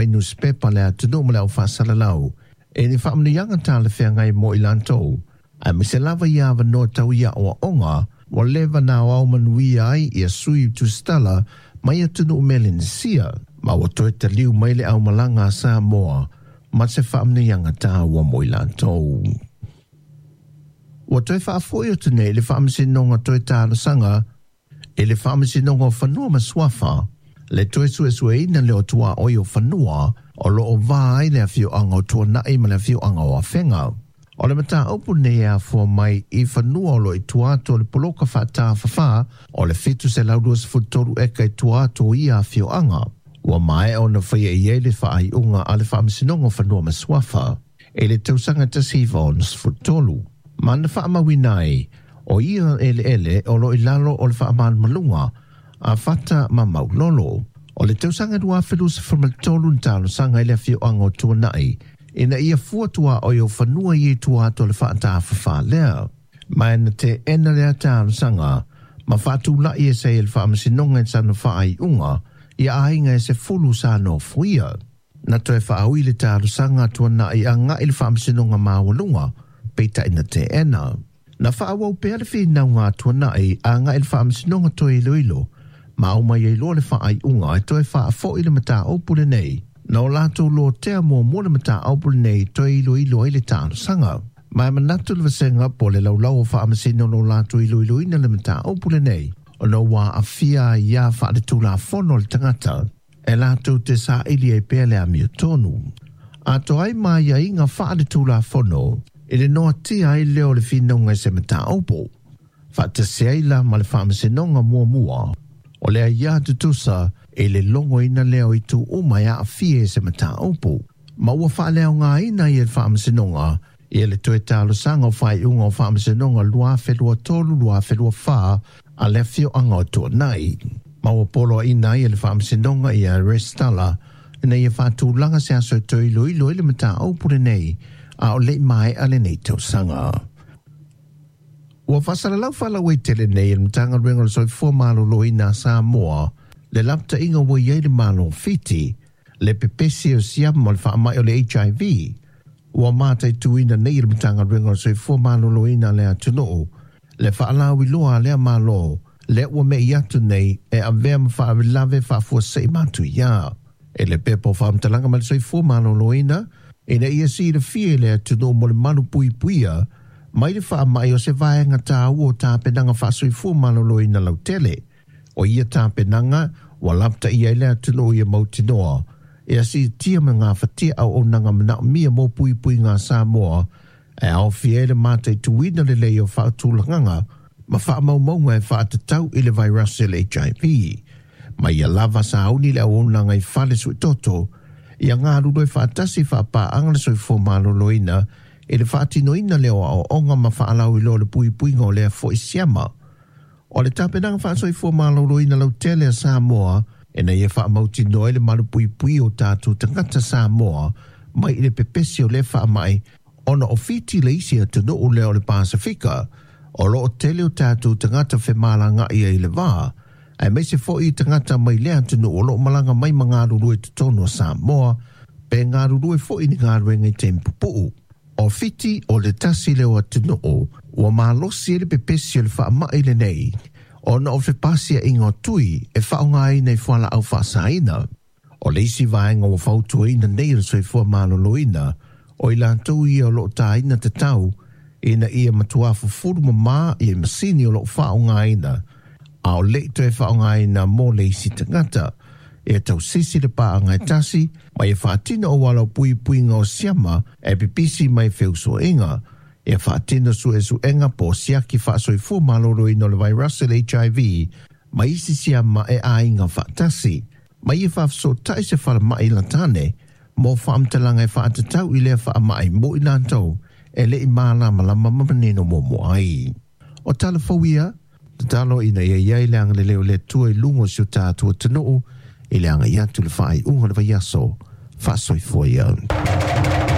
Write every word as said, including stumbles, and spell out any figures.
Nusipepa le atunuu ma le au faasalalau e ni faamanuiaga talafeagai mo i latou aemaise lava ia avanoa tau i aoaoga ua leva na aoao manuia ai ia sui tusitala mai atunuu Melenesia ma ua toe taliu mai le aumalaga a Samoa ma se faamanuiaga taua mo i latou. Ua toe faafo'i atu nei le Faamasinoga toe talosaga i le Faamasinoga o Fanua ma Suafa le toe suesueina lea o tuaoi o fanua o loo va ai le afioaga o Tuanai ma le afioaga o Afega. O le mataupu nei e afua mai i fanua o lo i tua atu o le poloka faatafafā o le fitu selau luasefulu tolu eka i tua atu o ia afioaga. Ua maea ona faia i ai le faaiuga a le Faamasinoga o Fanua ma Suafa i le tausaga tasi iva onosefulu tolu. Ma na faamauina ai o ia eleele o lo i lalo o le faamalumaluga a Fata ma Maulolo. O le tausaga lua afe luasefulu ma le tolu na talosaga i le afioaga o Tuanai ina ia fua tuaoi o fanua i tua atu o le faatafafā lea. Ma na teena lea talosaga ma faatulai ese ai le Faamasinoga i sana faaiuga ia aiga e sefulu sa nofoia. Na toe faaui le talosaga a Tuanai agai i le Faamasinoga Maualuga, peitai na teena. Na faaauau pea le finauga a Tuanai agai i le Faamasinoga toe iloilo ma aumai ai loa le faaiuga e toe faafo'i le mataupu lenei. Na o latou lotea muamua le mataupu lenei toe iloilo ai le talosaga. Ma e manatu le vasega po le laulau o faamasino lo latou iloiloina le mataupu lenei ona ua aafia aiā faaletulafono a le tagata e latou te saili ai pea le amiotonu. Atoa ai ma aiaiga faaletulafono i le noatia ai lea o le finauga i se mataupu. Faatasi ai la ma le Faamasinoga muamua o le aiā tutusa i le logoina lea o itu uma e aafia i se mataupu. Ma ua faaleaogaina ai e le Faamasinoga ia le toe talosaga o faaiuga o Faamasinoga lua afe lua tolu lua afe lua fa a le afioaga o Tuanai. Ma ua poloaiina ai e le Faamasinoga ia resitala ina ia faatulaga se aso e toe iloilo ai le mataupu lenei a o le'i maea lenei tausaga. Ua faasalalau faalauaitele nei e le Matagaluega o le Soifua Maloloina a Samoa le lapataiga ua i ai le Malo o Fiti le pepesi o siama o le faamai o le H I V. Ua mataituina nei e le Matagaluega o le Soifua Maloloina a le atunuu le faalauiloa a lea Malo lea ua me'i atu nei e avea ma faalavelave faafuasei matuia. E le pepa o faamatalaga ma le Soifua Maloloina ina ia silafia i le atunuu mo le malupuipuia mai le faamai o se vaega taua o tapenaga faasoifua maloloina lautele. O ia tapenaga ua lapataia ai le atunuu ia mautinoa e asiitia ma gafatia auaunaga manaomia mo puipuiga a Samoa e aofia ai le mataituina lelei o faatulagaga ma faamaumauga e faatatau i le vairasi o le H I V. Ma ia lava sauni le auaunaga i fale suitoto ia galulue faatasi faapaaga le soifua maloloina i le faatinoina lea o aoaoga ma faalauiloa o le puipuiga o lea fo'i siama. O le tapenaga faasoifua maloloina lautele a Samoa ina ia faamautinoa ai le malupuipui o tatou tagata Samoa mai i le pepesi o lea faamai ona o Fiti le isi atunuu lea o le Pasifika o loo tele o tatou tagata femalaga'i ai i le vā aemaise fo'i tagata mai lea atunuu o loo malaga mai ma galulue i totonu o Samoa pe galulue fo'i ni galuega i taimi pupuu. O Fiti o le tasi lea o atunuu ua malosi ai le pepesi o le faamai lenei ona o fepasiaʻiga o tui e faaaogaina i fualaau faasaina. O le isi vaega ua fautuaina nei e le Soifua Maloloina o i latou ia o loo tāina tatau ina ia matuā fufulu mamā ia masini o loo faaaogaina a o le'i toe faaaogaina mo le isi tagata. E tausisi le paaga e tasi ma ia faatino auala o puipuiga o siama e pipisi mai feusoiga. E faatino suesuega po o siaki faasoifua maloloina o le vairasi o le H I V ma isi siama e aiga faatasi. Ma ia faafesootai se falemai latane mo faamatalaga e faatatau i lea faamai mo i latou e le'i malamalama ma manino muamua ai. O tala fou ia, tatalo ina ia i ai le agalelei o le Atua i luga o si o tatou atunuu i le agai atu i le faaiuga o le vaiaso. Faasoifua ia.